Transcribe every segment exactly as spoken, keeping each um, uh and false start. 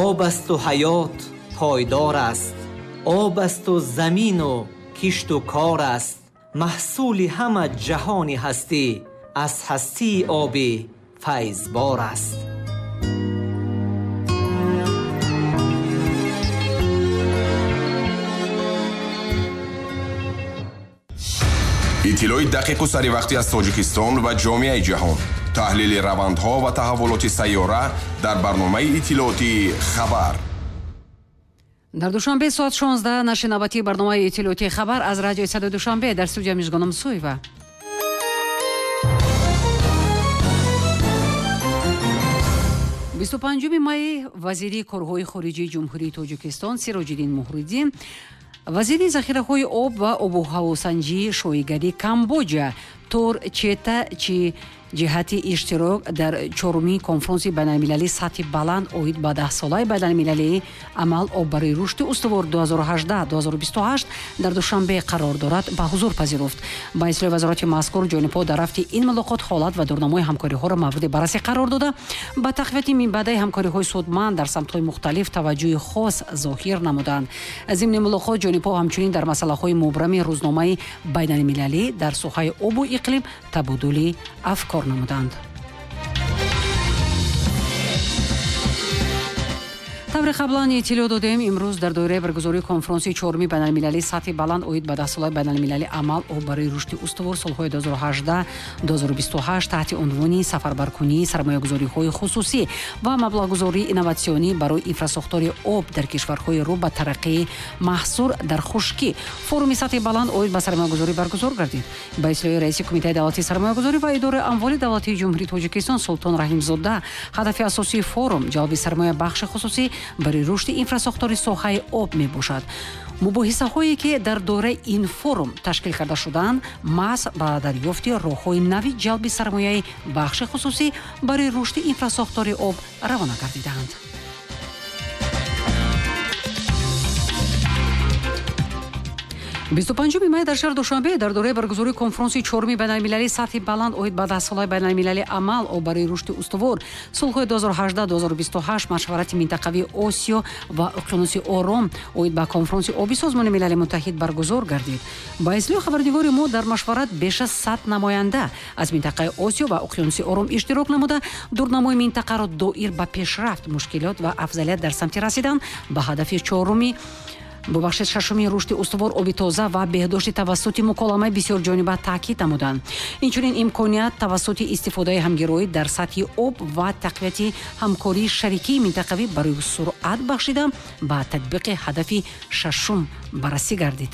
Об асту ҳаёт пойдор аст, об асту замину кишту кор аст. Маҳсули ҳама ҷаҳони ҳастӣ аз ҳастии оби файзбор аст. Иттилои дақиқу саривақтӣ аз Тоҷикистон ва ҷомеаи ҷаҳон, таҳлили равандҳо ва таҳаввулоти сайёра дар барномаи иттилоотии «Хабар». Дар Душанбе соат шонздаҳ нашри навбатии барномаи иттилоотии «Хабар» аз радиои Садои Душанбе. Дар студия Мижгоном Суева. бисту панҷуми май вазири корҳои хориҷии Ҷумҳурии Тоҷикистон Сироҷиддин Муҳриддин, вазири захираҳои об ва обу ҳавосанҷии шоҳигарии Камбоҷа Тор Чета чи ҷиҳати иштирок дар чорумин конфронси байналмилалии сатҳи баланд оид ба даҳсолаи байналмилалии амал об барои рушди устувор ду ҳазору ҳаждаҳ ду ҳазору бисту ҳашт дар Душанбе қарор дорад ба ҳузур пазируфт. Ба иттилои вазорати мазкур, ҷонибҳо дар рафти ин мулоқот ҳолат ва дурнамои ҳамкориҳоро мавриди баррасӣ қарор дода, ба тақвияти минбаъдаи ҳамкориҳои судманд дар самтҳои мухталиф таваҷҷӯҳи хос зоҳир намуданд. Зимни мулоқот ҷонибҳо ҳамчунин дар масъалаҳои мубрами рӯзномаи байналмилалӣ дар соҳаи обу иқлим табодули афкор намуданд. Тавре қаблан иттилоъ додем, имрӯз дар доираи баргузории конфронси чоруми байналмилалии сатҳи баланд оид ба даҳсолаи байналмилалии амал об барои рушди устувор солҳои ду ҳазору ҳаждаҳ ду ҳазору бисту ҳашт таҳти унвони сафарбаркунии сармоягузориҳои хусусӣ ва маблағгузории инноватсионӣ барои инфрасохтори об дар кишварҳои рӯ ба тараққии маҳсур дар хушкӣ форуми сатҳи баланд оид ба сармоягузорӣ баргузор гардид. Ба иттилои раиси Кумитаи давлатии сармоягузорӣ ва идораи амволи давлатии Ҷумҳурии Тоҷикистон Султон Раҳимзода, ҳадафи асосии форум ҷалби сармоя бахши хусусӣ барои рушди инфрасохтори соҳаи об мебошад. Мубоҳисаҳое ки дар доираи ин форум ташкил карда шудаанд, маҳз ба дарёфти роҳҳои нави ҷалби сармояи бахши хусусӣ барои рушди инфрасохтори об равона гардидаанд. бисту панҷуми май дар шаҳри Душанбе дар доираи баргузории конфронси чоруми байналмилалии сатҳи баланд оид ба даҳсолаи байналмилалии амал об барои рушди устувор солҳои ду ҳазору ҳаждаҳ ду ҳазору бисту ҳашт машварати минтақавии Осиё ва уқёнуси Ором оид ба конфронси оби Созмони Милали Муттаҳид баргузор гардид. Ба иттилои хабарнигори мо, дар машварат беш аз сад намоянда аз минтақаи Осиё ва уқёнуси Ором иштирок намуда, дурнамои минтақаро доир ба пешрафт, мушкилот ва афзалият дар самти расидан ба ҳадафи чоруми бубахшед шашуми рушди устувор, оби тоза ва беҳдошти тавассути муколамаи бисёрҷониба таъкид намуданд. Инчунин имконият тавассути истифодаи ҳамгироӣ дар сатҳи об ва тақвияти ҳамкории шарикии минтақавӣ барои суръат бахшида ба татбиқи ҳадафи шашум баррасӣ гардид.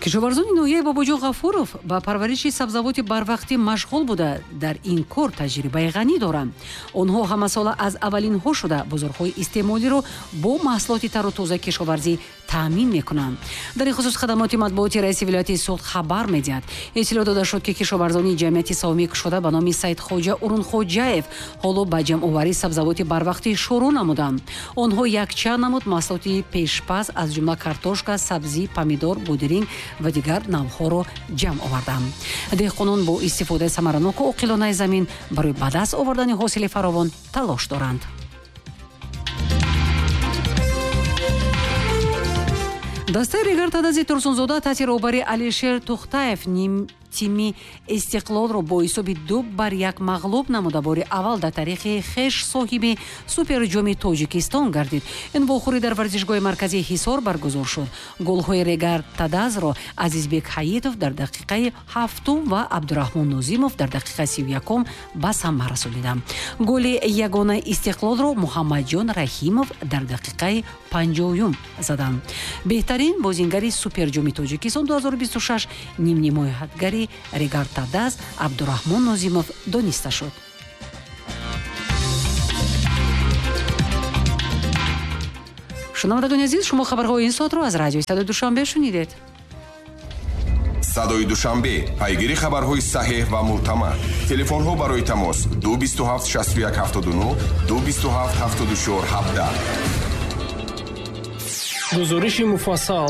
Кишоварзони ноҳияи Бобоҷон Ғафуров ба парвариши сабзавоти барвақтӣ машғул буда, дар ин кор таҷрибаи ғанӣ доранд. Онҳо ҳамасола аз аввалинҳо шуда бозорҳои истеъмолиро бо маҳсулоти тару тозаи кишоварзӣ таъмин мекунанд. Дар ин хусус хадамоти матбуоти раиси вилояти Суғд хабар медиҳад. Иттилоъ дода шуд, ки кишоварзони ҷамъияти савомӣ кушода ба номи Саидхоҷа Урунхоҷаев ҳоло ба ҷамъоварии сабзавоти барвақтӣ шурӯъ намуданд. Онҳо якчанд намуд маҳсулоти пешпаз аз ҷумла картошка, сабзӣ, помидор, будиринг ва дигар навъҳоро ҷамъ оварданд. Деҳқонон бо истифодаи самараноку оқилонаи замин барои ба даст овардани ҳосили фаровон талош доранд. Дастаи Регар Тадази Турсунзода таҳти роҳбарии Алишер Тухтаев ним тими Истиқлолро бо ҳисоби ду бар як мағлуб намуда, бори аввал дар таърихи хеш соҳиби суперҷоми Тоҷикистон гардид. Ин вохӯрӣ дар варзишгоҳи марказии Ҳисор баргузор шуд. Голҳои Регар Тадазро Азизбек Ҳаитов дар дақиқаи ҳафтум ва Абдураҳмон Нозимов дар дақиқаи сию якум ба самар расониданд. Голи ягонаи Истиқлолро Муҳаммадҷон Раҳимов дар дақиқаи панҷоюм заданд. Беҳтарин бозингари суперҷоми Тоҷикистон ду ҳазору бисту шаш нимнимоятгари Регар Тадаз Абдураҳмон Нозимов дониста шуд. Шунавандагони азиз, шумо хабарҳои ин соатро аз радиои Садои Душанбе шунидед. Садои Душанбе, пайгири хабарҳои саҳеҳ ва мӯътамад. Телефонҳо барои тамос ду бисту ҳафт шасту як ҳафтоду нӯҳ, ду бисту ҳафт ҳафтоду чор ҳабдаҳ. Гузориши муфассал.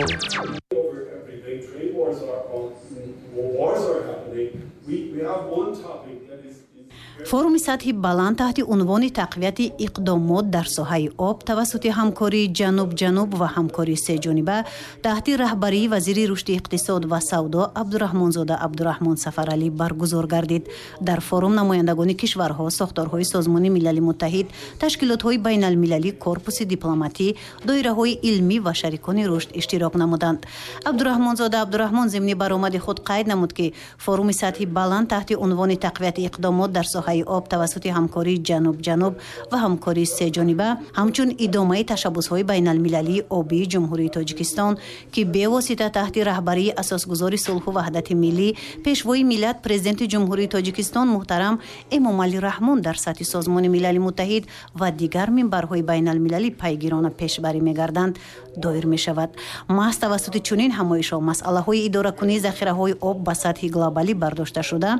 Форуми сатҳи баланд таҳти унвони тақвияти иқдомот дар соҳаи об тавассути ҳамкории ҷануб-ҷануб ва ҳамкории сеҷониба таҳти раҳбарии вазири рушди иқтисод ва савдо Абдураҳмонзода Абдураҳмон Сафаралӣ баргузор гардид. Дар форум намояндагони кишварҳо, сохторҳои Созмони Милали Муттаҳид, ташкилотҳои байналмилалӣ, корпуси дипломатӣ, доираҳои илмӣ ва шарикони рушд иштирок намуданд. Абдураҳмонзода Абдураҳмон зимни баромади худ қайд намуд, ки форуми сатҳи баланд таҳти унвони тақвияти иқдомот дар соҳаи об тавассути ҳамкории ҷануб-ҷануб ва ҳамкории сеҷониба ҳамчун идомаи ташаббусҳои байналмилалии обии Ҷумҳурии Тоҷикистон, ки бевосита таҳти раҳбарии асосгузори сулҳу ваҳдати миллӣ, пешвои миллат, президенти Ҷумҳурии Тоҷикистон муҳтарам Эмомалӣ Раҳмон дар сатҳи Созмони Милали Муттаҳид ва дигар минбарҳои байналмилалӣ пайгирона пешбарӣ мегарданд, доир мешавад. Маҳз тавассути чунин ҳамоишҳо масъалаҳои идоракунии захираҳои об ба сатҳи глобалӣ бардошта шуда,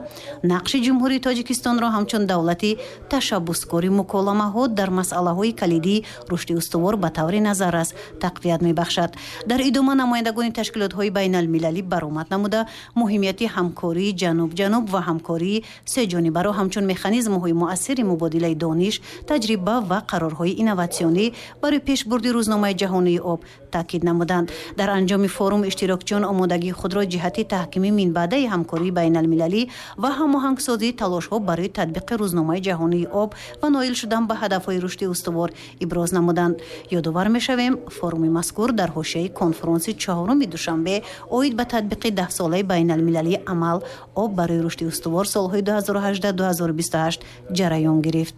нақши Ҷумҳурии Тоҷикистонро ҳамчун давлати ташаббускори муколамаҳо дар масъалаҳои калидии рушди устувор ба таври назаррас тақвият мебахшад. Дар идома намояндагони ташкилотҳои байналмилалӣ баромад намуда, муҳимияти ҳамкории ҷануб-ҷануб ва ҳамкории сеҷонибаро ҳамчун механизмҳои муассири мубодилаи дониш, таҷриба ва қарорҳои инноватсионӣ барои пешбурди рӯзномаи ҷаҳонии об таъкид намуданд. Дар анҷоми форум иштирокчиён омодагии худро ҷиҳати таҳкими минбаъдаи ҳамкории байналмилалӣ ва ҳамоҳангсозии талошҳо барои татбиқи рӯзномаи ҷаҳонии об ва ноил шудан ба ҳадафҳои рушди устувор иброз намуданд. Ёдовар мешавем, форуми мазкур дар ҳошияи конфронси чаҳоруми Душанбе оид ба татбиқи даҳсолаи байналмилалии амал об барои рушди устувор солҳои ду ҳазору ҳаждаҳ ду ҳазору бисту ҳашт ҷараён гирифт.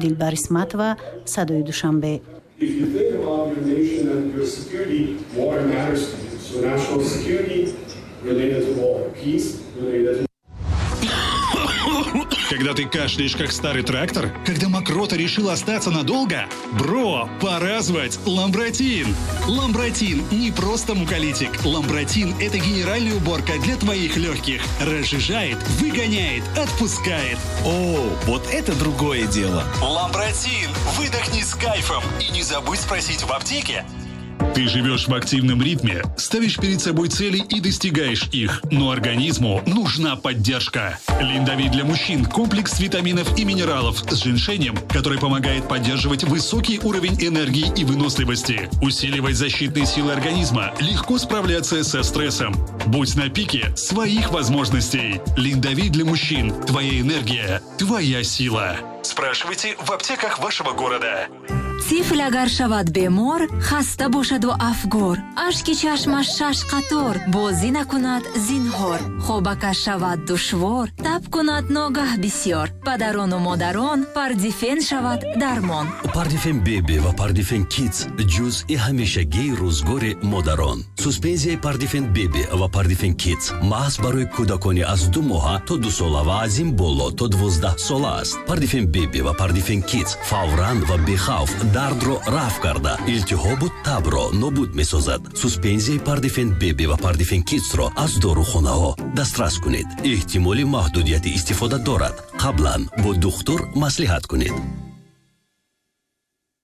Дилбар Исматова, Садои Душанбе. If you think about your nation and your security, water matters to you. So national security related to water, peace related to... Когда ты кашляешь, как старый трактор? Когда мокрота решила остаться надолго? Бро, пора звать Ламбратин! Ламбратин не просто муколитик. Ламбратин – это генеральная уборка для твоих легких. Разжижает, выгоняет, отпускает. О, вот это другое дело! Ламбратин! Выдохни с кайфом и не забудь спросить в аптеке. Ты живешь в активном ритме, ставишь перед собой цели и достигаешь их. Но организму нужна поддержка. Линдовит для мужчин – комплекс витаминов и минералов с женьшенем, который помогает поддерживать высокий уровень энергии и выносливости, усиливать защитные силы организма, легко справляться со стрессом. Будь на пике своих возможностей. Линдовит для мужчин – твоя энергия, твоя сила. Спрашивайте в аптеках вашего города. Тифл агар шавад бемор, хаста бошаду афгор, ашки чашмаш шаш қатор, бозӣ накунад зинҳор, хобакаш шавад душвор, таб кунад ногаҳ бисёр, падарону модарон Пардифен шавад дармон. Пардифен Беби ва Пардифен Кидс ҷузъи ҳамешагии рӯзгори модарон. Суспензияи Пардифен Беби ва Пардифен Кидс маҳз барои кӯдакони аз ду моҳа то ду сола ва аз ин боло то дувоздаҳ сола аст. Пардифен Беби ва Пардифен Кидс фавран ва бехавф дардро рафъ карда, илтиҳобу табро нобуд месозад. Суспензияи Пардифен Беби ва Пардифен Кидсро аз дорухонаҳо дастрас кунед. Эҳтимоли маҳдудияти истифода дорад. Қаблан бо духтур маслиҳат кунед.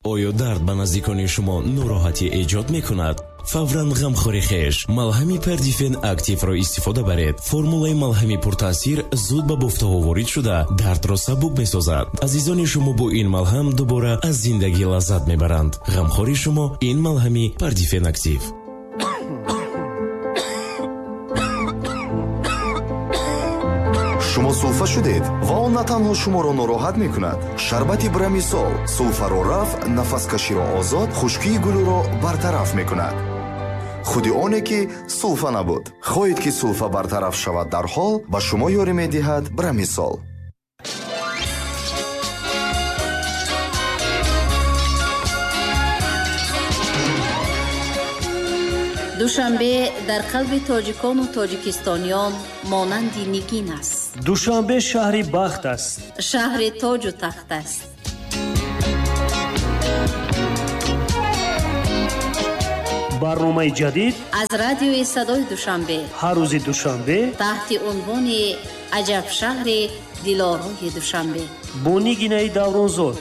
Оё дард ба наздикони шумо нороҳатӣ эҷод мекунад? Фавран ғамхори хеш малҳами Пардифен Активро истифода баред. Формулаи малҳами пуртаъсир зуд ба бофтаҳо ворид шуда, дардро сабук месозад. Азизони шумо бо ин малҳам дубора аз зиндагӣ лаззат мебаранд. Ғамхори шумо ин малҳами Пардифен Актив. Шумо сулфа шудед ва он на танҳо шуморо нороҳат мекунад. Шарбати Брамисол сулфаро рафъ, нафаскаширо озод, хушкии гулӯро бартараф мекунад. Худи оне ки сулфа набуд. Хоҳед ки сулфа бартараф шавад дарҳол, ба шумо ёрӣ медиҳад Брамисол. Душанбе дар қалби тоҷикону тоҷикистониён монанди нигин аст. Душанбе шаҳри бахт аст. Шаҳри тоҷу тахт аст. Барномаи ҷадид аз радиои Садои Душанбе ҳар рӯзи душанбе таҳти унвони Аҷаб шаҳри дилорои Душанбе бо Нигинаи Давронзод.